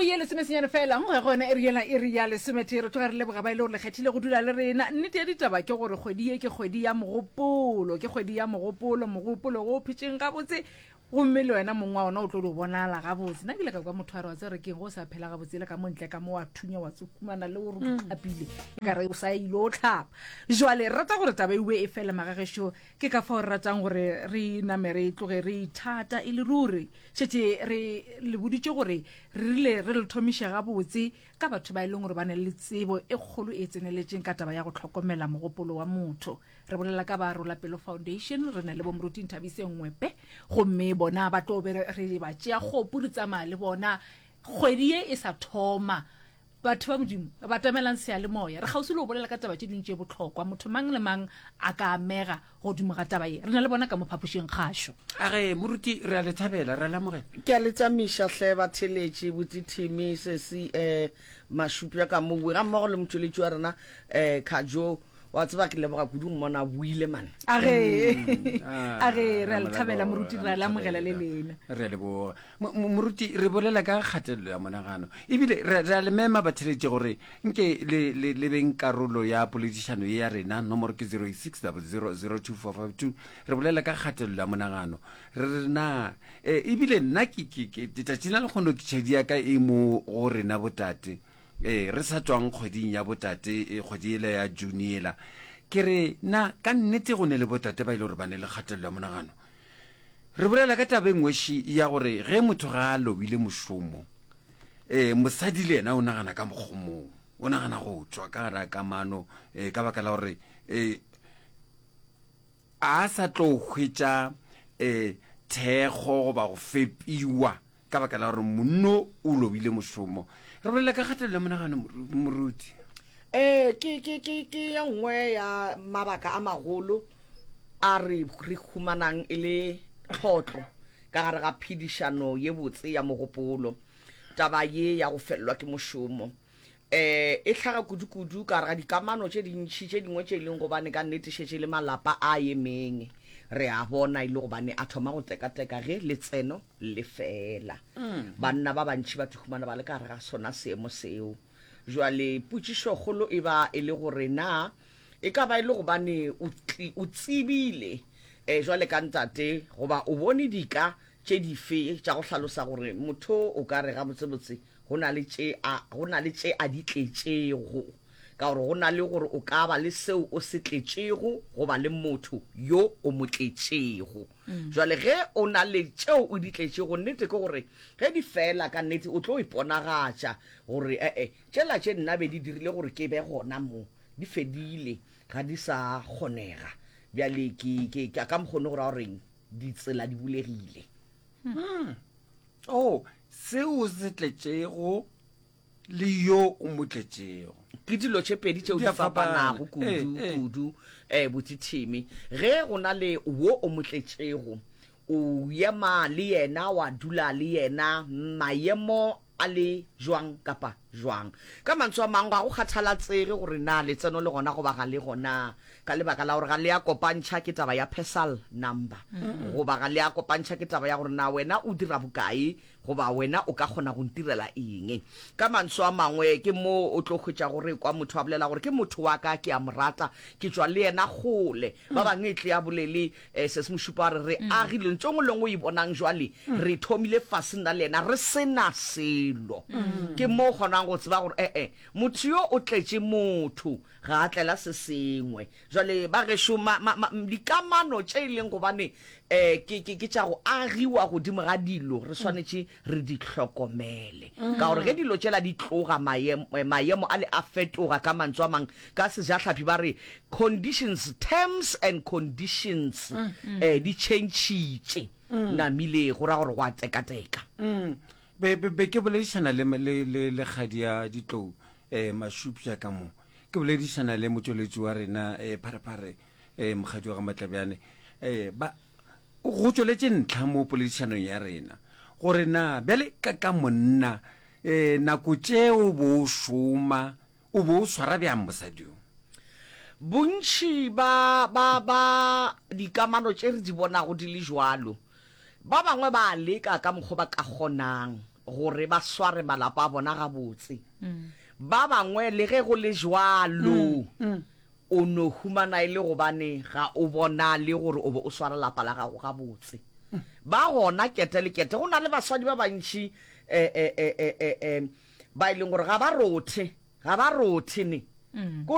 ye lesomesenyane fela go ya go yona iri yela iri ya lesometee re tloga re leboga ba e le gore le kgethile go dula le rena. Nnete ya ditaba ke gore kgwedi ye ke kgwedi ya mogopolo, ke kgwedi ya mogopolo, mogopolo go o phetšeng gabotse gomme le wena mong wa ona o tlo di bonala gabotse. Nna ke ile ka kwa motho a re wa tseba re keng go o sa phela gabotse le ka mo ntle ka mo wa thunya wa tsokumana le gore o tlhapile e ka re o sa ile o tlhapa. Jwale re rata gore taba ewe e fele magagešo ke ka fao re ratang gore re name re tloge re ithata e le ruri. Šetše re le boditše gore re rile re le thomiše gabotse ka batho ba e leng gore ba ne le tsebo e kgolo e tseneletšeng ka taba ya go hlokomela mogopolo wa motho. Re bolela ka ba Rola Pelo Foundation, re na le bo Moruti Nthabiseng Ngwepe, gomme bona ba tlo be re ba tšea kgopu re tsamaya le bona kgwedi ye e sa thoma. Batho ba Modimo, batamelang seyalemoya. Re kgauswi le go bolela ka taba tše dingwe tše bohlokwa. Motho mang le mang a ka amega godimo ga taba ye. Re na le bona ka mo phapošing kgašo. A re, Moruti, re a le thabela, re a le amogela. Ke a le tsamiša hle batheeletši, Botithimi, Sesi, eh, Mašupja ka mowe, gammogo le motšweletši wa rena, eh, Khajo. Wa tseba, ke leboga kudu go mmona a boile, man. A re, a re, re a le thabela, Moruti, re a le amogela le lena. Re a leboga. Moruti, re bolela ka kgatelelo ya monagano. Ebile re, re a le mema batheletši gore nke le, le, le beng karolo ya poledišano ye ya rena. Nomoro ke 086 00 02452. Re bolela ka kgatelelo ya monagano. Re re na, e, ebile nna ke, ke, ke, letšatši la lekgono ke tšhedi ya ka e mo go rena botate. Ee, re sa tšwang kgweding ya botate, e, kgwedi yela ya June yela. Ke re, na ka nnete go ne le botate ba e le gore ba ne le kgatelelo ya monagano? Re bolela ka taba e nngwe ši ya gore ge motho ga a lobile mošomo, e, mosadi le yena o nagana ka mokgwa mongwe, o nagana go tšwa ka gare ga kamano, e, ka baka la gore, e, a sa tlo hwetša, e, thekgo goba go fepiwa Ka baka la gore monno o lobile mošomo. Re bolela ka kgatelelo ya monagano, moruti. Ee, ke, ke, ke, ke ye nngwe ya mabaka a magolo a re, re humanang e le tlhotlo ka gare ga phedišano ye botse ya mogopolo. Taba ye ya go felelwa ke mošomo E, e hlaga kudu-kudu ka gare ga dikamano tše dintši tše dingwe tše e leng gobane ka nnete šetše e le malapa a emeng. Re a bona e le gobane a thoma go teka-teka ge letseno le fela. Banna ba bantši ba tihumana ba le ka gare ga sona seemo seo. Jwale potšišokgolo e ba e le gore na e ka ba e le gobane o, o tsebile e, jwale ka ntate goba o bone dika tše dife tša go hlalosa gore motho o ka re gabotsebotse Go na le tše a, go na le tše a di tletšego. Ka gore go na le gore o ka ba le seo o se tletšego goba le motho yo o mo tletšego. Jwale ge o na le tšeo o di tletšego, nnete ke gore ge di fela, ka nnete o tlo iponagatša gore e-e, tšela tše nna be di dirile gore ke be gona mo, di fedile, ga di sa kgonega. Bjale ke, ke, ke, ka mokgwa ono go ra goreng ditsela di bulegile. Oh, seo o se tletšego le yo o mo tletšego. Ke dilo tše pedi tšeo di fapanago kudu, kudu, eh, botšithimi. Ge go na le wo o mo tletšego, o ema le yena, wa dula le yena, maemo a le jwang kapa jwang. Ka mantswe a mangwe, ga go kgathalatsege gore na letseno le gona goba ga le gona, ka lebaka la gore ga le a kopantšha ke taba ya persal number, goba ga le a kopantšha ke taba ya gore na wena o dira bokae goba wena o ka kgona go ntirela eng. Ka mantswe a mangwe, ke mo o tlo hwetšago re kwa motho a bolela gore ke motho wa ka, ke a mo rata, ke tšwa le yena kgole. Ba bangwe e tle a bolele eh, se se mo šupa gore re agile ntho e nngwe le nngwe o e bonang jwale, re thomile fase nna le yena re se na selo. Ke mo o kgonang go tseba gore ee, motho yo o tletše motho, ga a tlela se sengwe. Jwale ba gešo, ma, ma, ma, dikamano tše e leng gobane um ke, ke, ke tša go agiwa godimo ga dilo, re swanetše re di hlokomele. Ka gore ge dilo tšela di tloga, maemo, maemo ale a fetoga, ka mantswe a mang, ka sejahlaphi ba re conditions, terms and conditions, um di tšhentšhitše namile, go ra gore go a tekateka. Be, be, be ke boledišana le, le, le, le kgadi ya ditlou, um Mašupša ka mo. Ke boledišana le motšweletši wa rena, um Pharephare, um mokgadi wa ga Matlabjane. Um ba, go tšweletše ntlha mo poledišanong ya rena gore na bjale ka, ka monna, um nako tše o bo o šoma, o bo o swara bjang mosadi yo? Bontši ba, ba, ba dikamano tše re di bonago di le jwalo, ba bangwe ba a leka ka mokgo ba ka kgonang. gore ba sware malapa a bona gabotse. Ba bangwe le ge go le jwalo, o no humana e le gobane ga o bonale gore o be o swara lapa la gago gabotse. Ba gona kete le kete. Go na le basadi ba bantši eh, eh, eh, eh, eh, eh, ba e leng gore ga ba rothe, ga ba rothe ne. Ko.